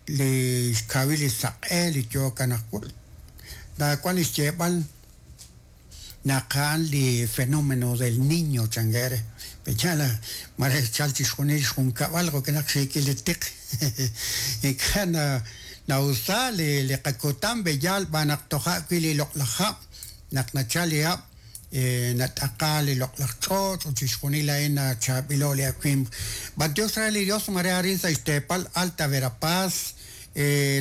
Li xkawil li saq'e li yook anaqwan naawank li xyeeb'al naq a'an li fenómeno del niño chankeb' re, pe'yaal mare xchalk chixjunil xjunkab'al jo'kan naq xiikil li tiq ink'a' na'usa li qakutan pe'yaal xb'aan naq toja' wi' li loq'laj hab' naq nachalk li hab' nat'aqa li loq'laj ch'och' ut chixjunil a'in nachaab'ilo' li awimq. B'antiox re li Dios mare arin sa' xteepal Alta Verapaz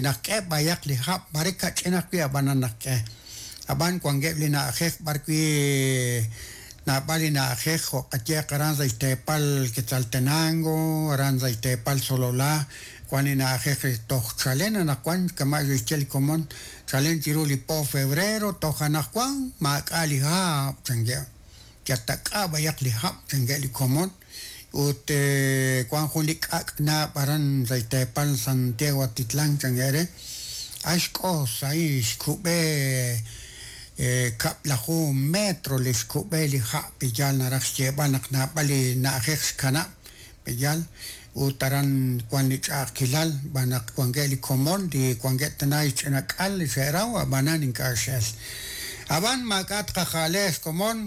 naqk'e b'ayaq li hab', mare kach'in ajwi' ab'anan naqk'e. Ab'an wankeb' li na'ajej b'arwi' naab'al li na'ajej jo' qayeeq aran sa' xteepal Quetzaltenango, aran sa' xteepal Sololá, wan li na'ajej toj chalen anaqwan kama' xe'xye li komon Chalen chiru li po febrero toj anaqwan maak'a' li hab', chankeb'. Yal tak'a b'ayaq li hab', chankeb' li komon. Ut wank jun li k'ak' naab' aran sa' xteepal Santiago Atitlán, chankeb' re. A xk'os a'in xkub'e kab'laju metro li xkub'e li ha' pe'yaal naraj xyeeb'al naq naab'al li na'ajej xkanab' Pe'yaal? Ut aran wank li ch'a'ajkilal, xb'aan naq wankeb' li komon li wankeb' tana xch'ina k'al li xe'raw, ab'anan ink'a' x'el. Ab'an maak'a' tqaja'le xkomon,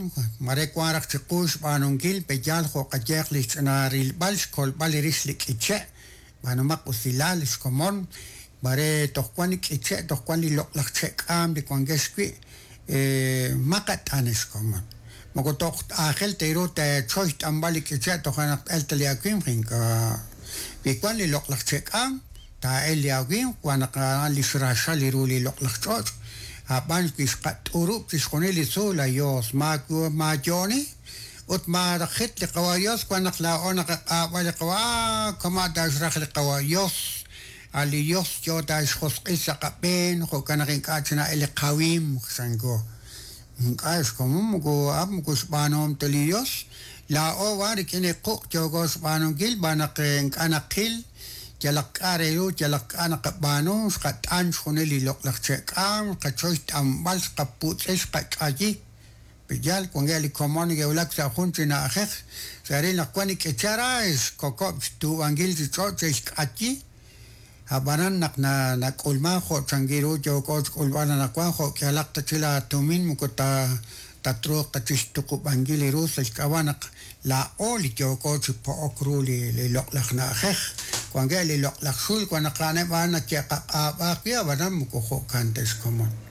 mare wank raj chiqu xb'aanunkil, pe'yaal jo' qayeeq li xch'ina rilb'al xkolb'al rix li k'iche', b'aanumaq usilal xkomon, mare toj wank li k'iche', toj wank li loq'laj che'k'aam li wankex wi', maqat'an xkomon. Moko toj aajel ta ru teechoy xt'anb'al li k'iche' toja' naq t-elq ta li awimq, ink'a'. Wi wank li loq'laj che'k'aam, taa'elq li awimq, wan naq a'an li xraxal li ru li loq'laj ch'och'. Ab'an wi xqat'urub' chixjunil li tzuul, a Yos, maayo'oni ut maajit li Qawa' Yos, wan naq laa'o naqaq'aab'a li Qawa', ah, kama' ta xraj li Qawa' Yos, a' li Yos yo ta xjosq'il sa' qab'een, jo'kan naq ink'a' chi na'elk li qawimq, chanko. Ink'a' xkomon moko a'an moko xb'aanuhom ta li Yos, laa'o b'an rik'in li quq' yooko xb'aanunkil xb'aan naq ink'a' naqil yalaq k'a' re ru, yalaq k'a' naqab'aanu, xqat'an xjunil li loq'laj che'k'aam, xqachoy xt'anb'al, xqaputz'i, xqach'ayi. Pe'yaal wankeb' li komon neke'wulak sa' jun chi na'ajej, xe'ril naq wank li k'iche' ra, xkokob' xtuub'ankil chi ch'och' xe'xk'ayi. Ab'anan naq nak'ulmank jo' chankil ru yooko xk'ulb'al anaqwan, jo' k'ihalaq ta chi laatumin moko tatruuq ta chi xtuqub'ankil li ru sa' xk'ab'a' naq laa'o li yooko chi po'ok ru li loq'laj na'ajej. Wankeb' li loq'laj xul wan naq a'aneb' a'an nake'qaq'aab'a ajwi' ab'anan moko jo'kan ta xkomon.